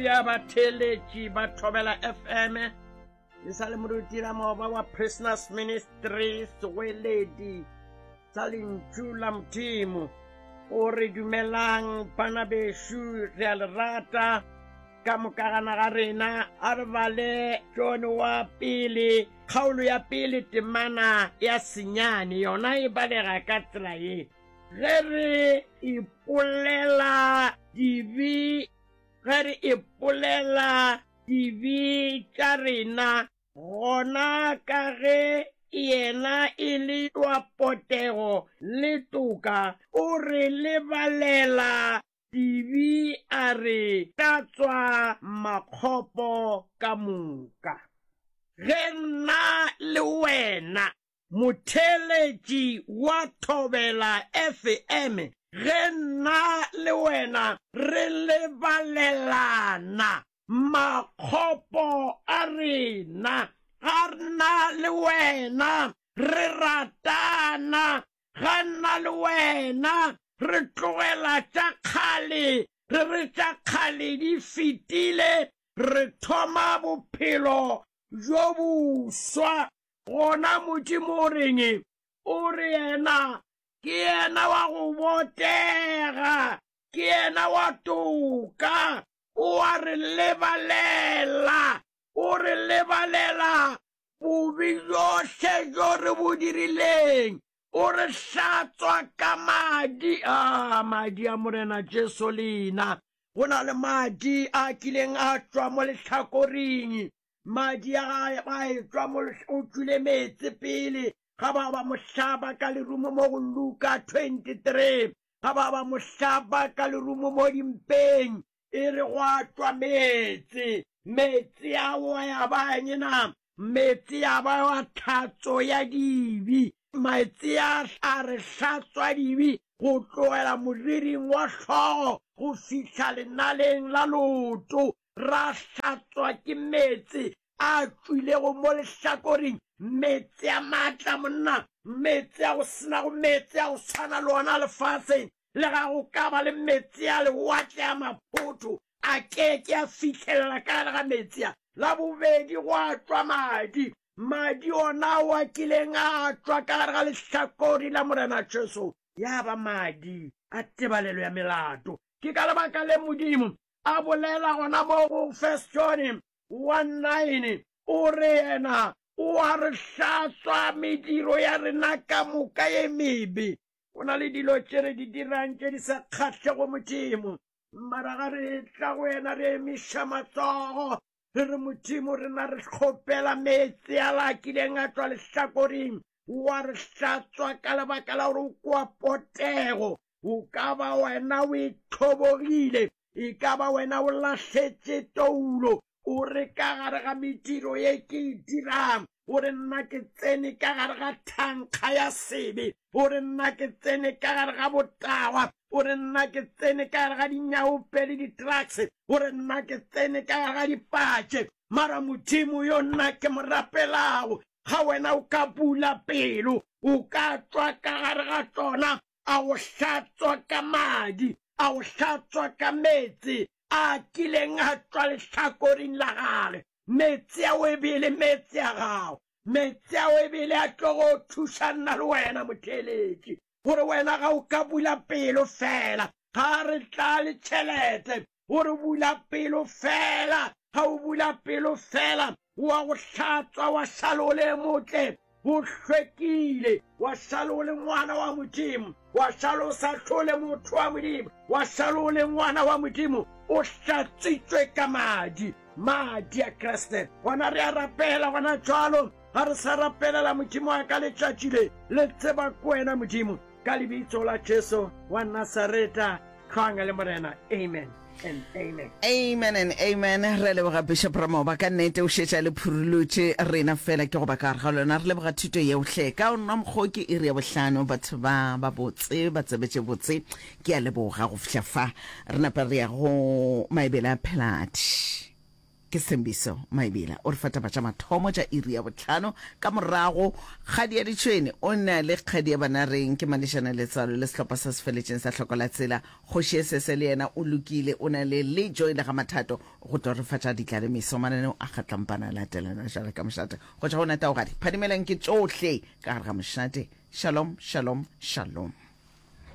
Haleluya batheeletši ba Thobela FM. Le sa le moruti Ramoba wa Prisoners Ministry Seweledi sa Lentšu la Modimo. O re dumelang bana bešo re a le rata ka mokagana ga rena a re bale John wa pele kgaolo ya pele temana ya senyane yona e balega ka tsela ye Ge re ipolela dibe, ge re ipolela dibe tša rena, gona ka ge yena e le wa potego le toka, o re lebalela dibe a re hlatswa makgopo ka moka. Ge nna le wena Motheeletši wa Thobela FM, ge nna le wena re lebalelana makgopo a rena, ga nna le wena re ratana, ga nna le wena re tlogela tša kgale, re re tša kgale di fetile, re thoma bophelo bjo boswa. Gona Modimo o reng? O re yena ke yena wa go botega, ke yena wa toka, o a re lebalela, o re lebalela bobe bjohle bjo re bo dirileng, o re hlatswa ka madi a madi a Morena Jesu leina. Go na le madi a kileng a tšwa mo lehlakoring Madi a gae a etšwa mo o tšwile meetse pele ga ba ba mo hlaba ka lerumo mo go Luka 23 ga ba ba mo hlaba ka lerumo mo dimpeng e re gwa tšwa meetse meetse ao a ya ba eng na meetse ya ba wa tlhatso ya dibi meetse a a re hlatswa dibi go tlogela moriring wa hlogo go fihla lenaleng la loto Ra hlatswa ke meetse a tšwilego mo lehlakoreng, meetse a maatla, monna, meetse a go se nago meetse a go swana le ona lefaseng. Le ga go ka ba le meetse a lewatle a maphotho, a ke ke a fihlelela ka gare ga meetse a. La bobedi gwa tšwa madi, madi ona ao a kileng a tšwa ka gare ga lehlakori la Morena Jesu, ya ba madi a tebalelo ya melato. Ke ka lebaka le Modimo a bolela gona mo go First John 1:9, o re yena o a re hlatswa mediro ya rena ka moka ye mebe. Go na le dilo tše re di dirang tše di sa kgahlego Modimo, mara ga re tla go yena re emiša matsogo re re Modimo rena re kgopela meetse a la kileng a tšwa lehlakoring wa re hlatswa ka lebaka la gore o kwa potego O ka ba wena o itlhobogile, e ka ba wena o lahletše toulo, o re ka gare ga mediro ye ke e dirang, o re nna ke tsene ka gare ga thankga ya sebe, o re nna ke tsene ka gare ga botagwa, o re nna ke tsene ka gare ga dinyaope le di-drugs, o re nna ke tsene ka gare ga dipatše. Mara Modimo yo nna ke mo rapelago, ga wena o ka bula pelo, o ka tšwa ka gare ga tšona, a go hlatswa ka madi, a go hlatswa ka meetse a kileng a tšwa lehlakoring la gage. Meetse ao e be e le meetse a gago. Meetse ao e be e le a tlo go thuša nna le wena, motheeletši, gore wena ga o ka bula pelo feela, ga re tlale tšhelete, gore bula pelo feela, ga o bula pelo feela, wa go hlatswa wa šala o le motle, o hlwekile, wa šala o le ngwana wa Modimo, wa šala o sa hlole motho wa Modimo, wa šala o le ngwana wa Modimo, o hlatswitšwe ka madi, madi a Kriste. Gona re a rapela gona jwalo, ga re sa rapelela Modimo wa ka letšatši le, le tseba ko wena Modimo, ka lebitso la Jesu wa Nasareta, hlwang le Morena. Amen and amen. Amen and amen. Re leboga Bishop Ramoba ka nnete o šetša le phurulotše rena fela ke go ba ka gare ga lona. Re leboga thuto yeohle. Ka o nwa mokgo ke iri ya bohlano batho ba ba botse ba tsebe tše botse. Ke a leboga go fihla fa. Re napa re ya go Maebele a Pheladi. Ke Sthembiso Maibila o re fa taba tša mathomo tša iri ya bohlano. Ka morago, Kgadi ya Ditšhwene o na le Kgadi ya Banareng, ke Malešana Letswalo le sehlopha sa Sefeletšeng sa Hloko la Tsela. Kgoši Esese le yena o lokile, o na le le Joy le ga Mathato go tlo re fa tša ditlalemeso. Mananeo a kgatlampana a latelana jwale ka mošate. Go tšwa go Nataogadi, phadimelang ke tšohle ka gare ga mošate. Shalom, shalom, shalom.